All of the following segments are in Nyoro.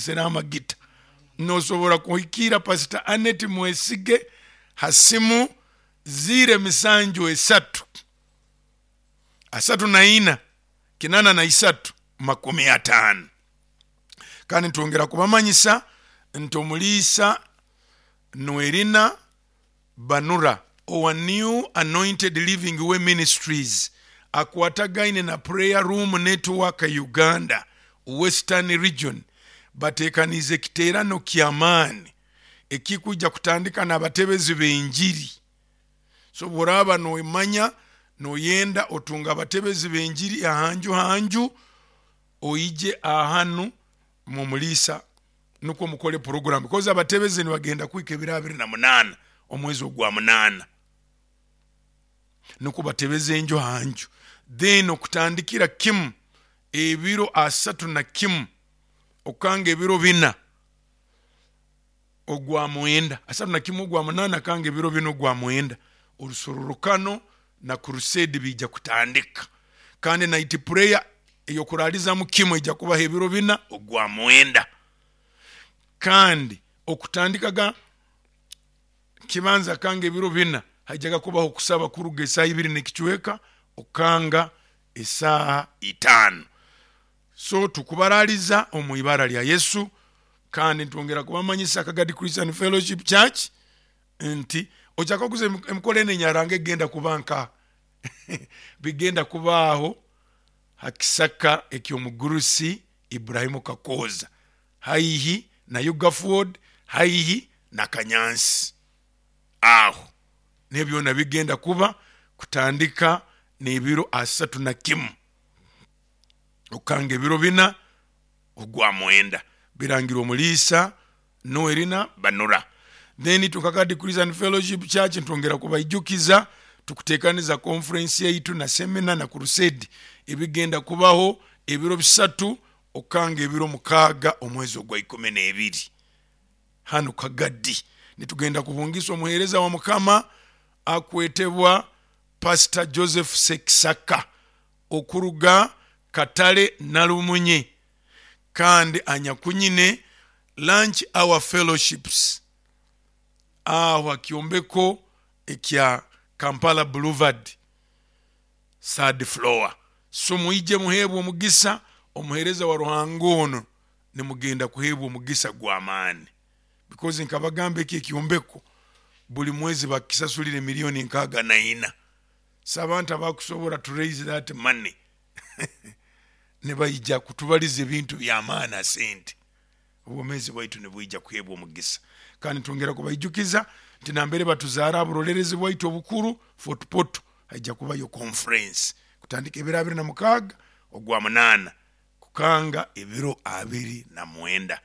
Sereho amagita. Nosobora kuhikiira Pasita Annet Mwesige ha simu ziiro emisanju esatu, asatu na ina, kinana na isatu, makumi ataano. Kandi nitwongera kubamanyisa nti Omuliisa Noelina Banura owa New Anointed Living Way Ministries akwatagaine na Prayer Room Network Uganda Western Region bateekaniize ekiteerano ky'amaani ekikwija kutandika n'abatebezi b'enjiri. So bw'oraaba noomanya noyenda otunga abatebezi b'enjiri ahanju hanju, oije ahanu mumuliisa nukwo mukole puroguramu because abatebezi nibagenda kuhika ebiro 28 omwezi ogwa munaana nukwo batebeze enju ha nju, then okutandikira kimu ebiro 31 okanga ebiro 4 ogwa mwenda, 31 ogwa munaana kanga ebiro 4 ogwa mwenda, orusorrokano na crusade biija kutandika. Kandi night prayer ey'okuraalizamu kimu eija kubaho ebiro 4 ogwa mwenda. Kandi okutandika ga kibanza kanga ebiro 4 haijaga kubaho okusaba kuruga esaaha ibiri n'ekicweka okanga esaaha itaano. So tukubaraaliza omu ibara lya Yesu, kandi nitwongera kubamanyisa Kagadi Christian Fellowship Church nti okyakaguza emikoro enu enyaranga egenda kuba nkaha? Bigenda kubaaho ha kisaka eky'omugurusi Ibrahimu Kakooza haihi na Ugaford haihi na Kanyansi. Aho niho byona bigenda kuba kutandika n'ebiro 31 okukanga ebiro 4 ogwa mwenda. Birangirwe Omuliisa Noelina Banura. Then itwe nka Kagadi Christian Fellowship Church nitwongera kubaijukiza tukuteekaniza conference yaitu na seminar na crusade ebigenda kubaho ebiro 3 okukanga ebiro 6 omwezi ogwa 12 hanu Kagadi. Nitugenda kubungisa omuheereza wa Mukama akwetebwa Pastor Joseph Sekisaka okuruga Katale Nalumunye kandi anyakunyine Lunch Hour Fellowships aho ha kyombeko ekya Kampala Boulevard third floor. So mwije muheebwe omugisa, omuheereza wa Ruhanga ono nimugenda kuheebwa omugisa gw'amaani because nkabagamba eki ekyombeko buli mwezi bakisasulira emiliyoni 64. So abantu abakusobora to raise that money nibaija kutubaliza ebintu by'amaani ha sente. Obwomeezi bwaitu nibwija kuheebwa omugisa. Kandi nitwongera kubaijukiza nti nambere batuzaara ha burolerezi bwaitu obukuru Fort Portal haija kubayo conference kutandika ebiro 26 ogwa munaana kukanga ebiro 29.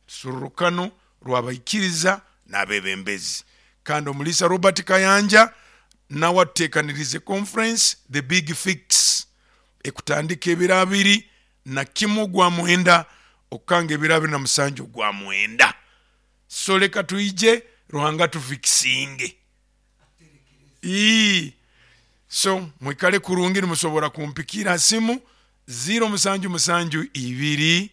Rusorrokano rw'abaikiriza n'abeebembezi. Kandi Omuliisa Robert Kayanja nawe atuteekaniriize conference The Big Fix ekutandika ebiro 21 ogwa mwenda okukanga ebiro 27 ogwa mwenda. So leka twije Ruhanga atufikisinge. Ii. So mwikale kurungi nimusobora kumpikiira ha simu 0 7 7 2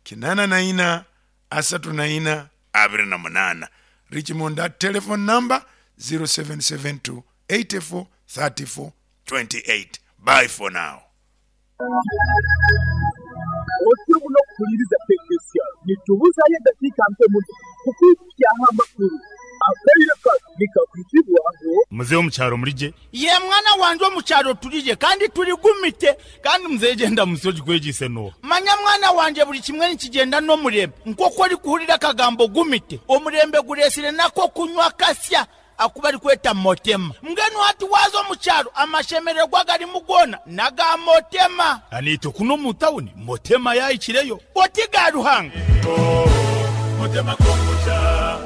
84 34 28. Reach me on that telephone number 0772 84 34 28. Bye for now. Otyo muno okuhuliriza KKCR. Nitubuzaayo edakiika nke muno kukwidhukyaho amakulu. Akaire kano nikakwizibwaho. Muzei omu kyaro muri gye? Yee mwana wangye omu kyaro turi gye kandi turi gumite. Kandi muzei gye ndamutsyo ogikwegyeise n'oha? Manya mwana wangye buri kimwe nikigyenda n'omurembe. Nk'oku orikuhurira akagambo gumite, omurembe gureetsire n'ak'okunywa akasya aku barikweta Motema. Mbwenu hati waaza omu kyaro amashemererwa agarimu goona n'aga Motema. Naitwe kunu omu tawuni Motema yaahikireyo. Oti ga Ruhanga. Motema kombucha.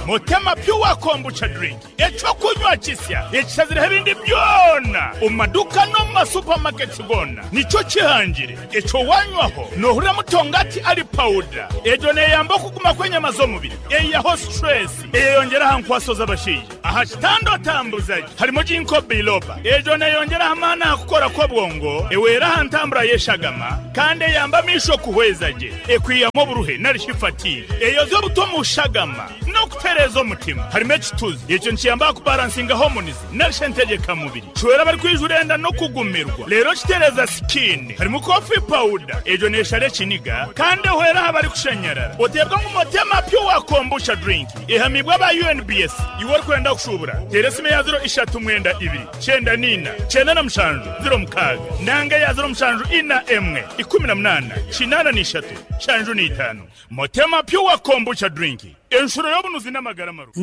Motema Pure Kombucha drink, ekyokunywa kisya ekisazireho ebindi byona omu maduka n'omu masupamaketi gona. Nikyo kihangire ekyo wanywaho nohurira mutongati ali pawuda. Egyo neyamba okuguma kw'enyama z'omubiri, eyihaho stress, eyeyongera aha nkwaso z'abashaija aha kitanda otambuza gye. Harimu ginkgo biloba, egyo neyongera aha maani aha kukora kw'obwongo, ewera aha ntambura y'eshagama kandi eyamba amaisho kuhweza gye, ekwihamu oburuhe nari shi fatigue, eyoza obuto omu shagama n'okutereeza omutima. Harimu ekituzi, ekyo nikiyamba aha kubaransinga hormones nari shi entegyekamubiri, kihwera abarikwijura enda n'okugumirwa, reero kitereeza skin. Harimu coffee powder, egyo neeshara ekiniga kandi ehwera aha barikushanyarara. Oteebwa ngu Motema Pure Kombucha Drink ehamiibwe aba UNBS. Iwe orikwenda kushuubura, teera esimu eya 0 3 2 94 97 06 nanga eya 0741 18 83 75. Motema Pure Kombucha Drink, enshuro y'obunuzi n'amagara marungi.